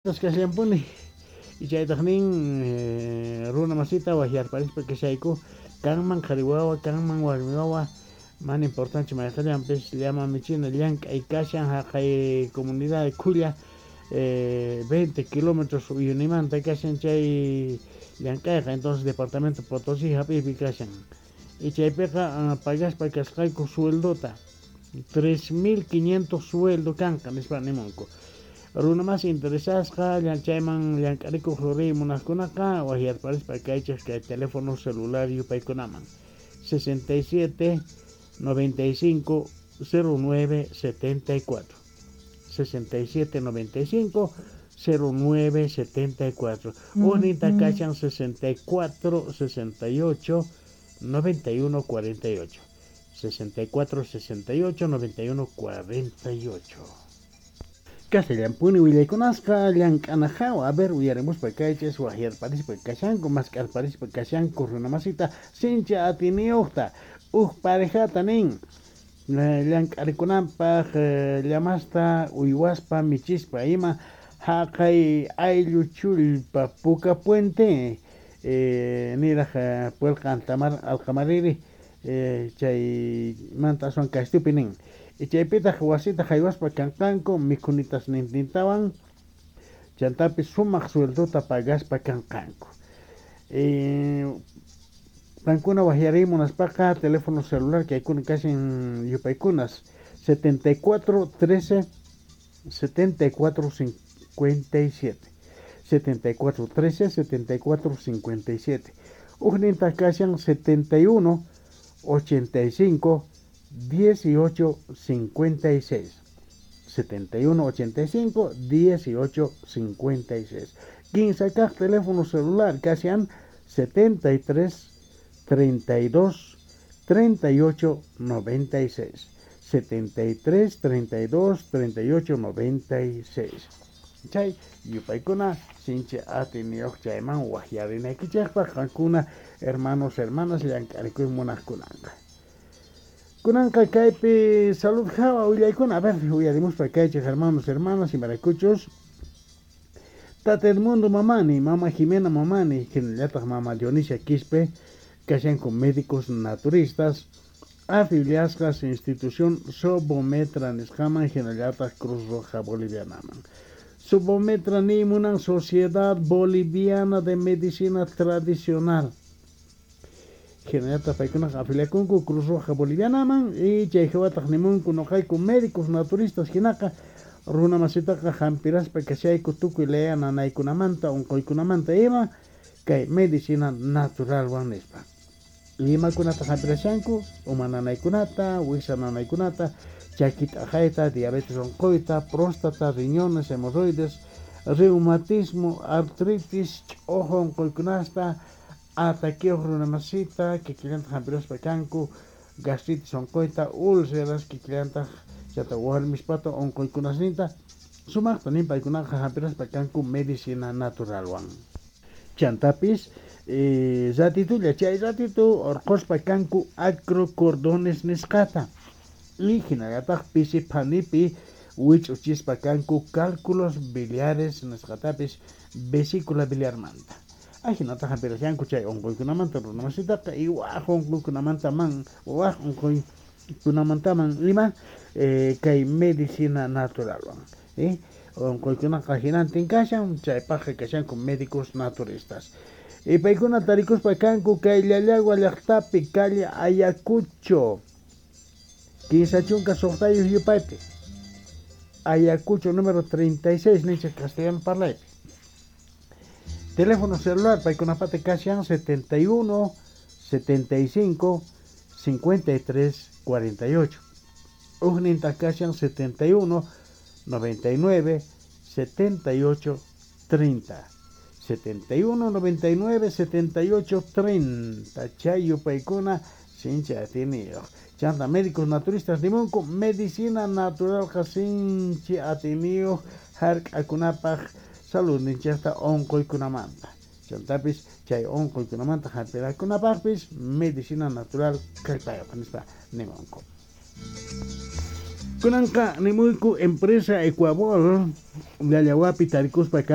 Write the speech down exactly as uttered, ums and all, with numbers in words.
Kasllampuni y chaytaq nin runa masita waqyarparispa kashayku kanman qhari wawa kanman warmi wawa mana importante mayqillanpis llama michina llank'ay kashan haqay comunidad Khulla eh, veinte kilómetros Uyunimanta kashan chay llank'ayqa, entonces departamento Potosí hap'iypi kashan y chaypiqa pagaspa kasqayku sueldota tres mil quinientos sueldo kanqa nispa nimunku. Runa más interesasqa chayman llank'arikuq riy munaqkunaqa waqyarparispa kaychik kay teléfono celular yupaykunaman sesenta y siete noventa y cinco cero nueve setenta y cuatro sesenta y siete noventa y cinco cero nueve setenta y cuatro Ujninta kashan sesenta y cuatro sesenta y ocho noventa y uno cuarenta y ocho sesenta y cuatro sesenta y ocho noventa y uno cuarenta y ocho. Castellampuni willaykunasqa llank'anajawa, a ver uyarimuspa kaychis waqyarparispa kashanku mask'arparispa kashanku runamasita sinchi atiniyuqta uj parejata nin llank'arikunanpaq llamasta uywaspa michispa ima haqay ayllu chullpa Puka Puente eh, niraq puelqa altamar alqamariri eh, chaymanta aswan kastupi nin. Y chaypitaq wasita haywaspa kanqanku mikhunitas nintintawan chantapis sumaq sueldota pagaspa kanqanku. Eh, qankuna waqyariy munaspaqa teléfono celular kaykuna kashan yupaykunas setenta y cuatro trece setenta y cuatro cincuenta y siete setenta y cuatro trece setenta y cuatro cincuenta y siete ujnintaq kashan setenta y uno ochenta y cinco dieciocho cincuenta y seis setenta y uno ochenta y cinco dieciocho cincuenta y seis quince kaq teléfono celular kashan setenta y tres treinta y dos treinta y ocho noventa y seis setenta y tres treinta y dos treinta y ocho noventa y seis chay yupaykuna sinchi atiniyuq chayman waqyarinaykichikpaq qankuna hermanos hermanas llank'arikuy munaqkunanqa. Kunanqa kaypi salud hawa willaykuna, a ver uyarimuspa kaychik hermanos hermanas imaraykuchus Tata Edmundo Mamani, Mama Jimena Mamani, hinallataq Mama Dionisia Quispe kashanku médicos naturistas afiliasqas institución Sobometra nisqaman hinallataq Cruz Roja Bolivianaman. Sobometra nimunan Sociedad Boliviana de Medicina Tradicional. Hinallataq paykunaqa afiliakunku Cruz Roja Bolivianaman y chayhawataq nimunku noqayku médicos naturistas hinaqa runa masitaqa hampiraspa kashayku tukuy laya nanaykunamanta unquykunamanta ima kay medicina naturalwan nispa. Imakunata hampirashanku uma nanaykunata, wiksa nanaykunata, chaki t'aqayta, diabetes unquyta, próstata, riñones, hemorroides, reumatismo, artritis, ch'uju unquykunasta, ataqueos runamasita, kikillantaq hampiraspa kanku, gastritis unquyta, úlceras, kikillantaq chata warmispata unquykunasninta, sumaqta nin paykunaqa hampiraspa kanku medicina naturalwan. Chantapis, eh, ratitulla chay ratitu urquspa kanku acrocordones nisqata y hinallataq pisi phanipi wich'uchispa kanku cálculos biliares nisqatapis vesícula biliarmanta. Ahinataq hampirashanku chay unquykunamanta runamasitaqa y waq unquykunamanta man waq unquykunamantaman ima eh, kay medicina naturalwan. Eh? Unquykunaqa hinantin kashan chaypaqqa kashanku médicos naturistas. Y paykuna tarikuspa kanku kay Llallagua llaqtapi calle Ayacucho kinsa chunka suqtayuq yupaypi Ayacucho número treinta y seis ninchik castellano parlaypi. Teléfono celular paykunapata kashan setenta y uno setenta y cinco cincuenta y tres cuarenta y ocho Ujninta kashan setenta y uno noventa y nueve setenta y ocho treinta setenta y uno noventa y nueve setenta y ocho treinta chay yupaykuna sinchi atiniyuq. Chanta médicos naturistas nimunku medicina naturalqa sinchi atiniyuq hark'akunapaq saludninchikta unquykunamanta. Chantapis chay unquykunamanta hampirakunapaqpis medicina natural kallpayuq nispa nimunku. Kunanqa nimuyku empresa Ecuabol llallawapi tarikuspa kan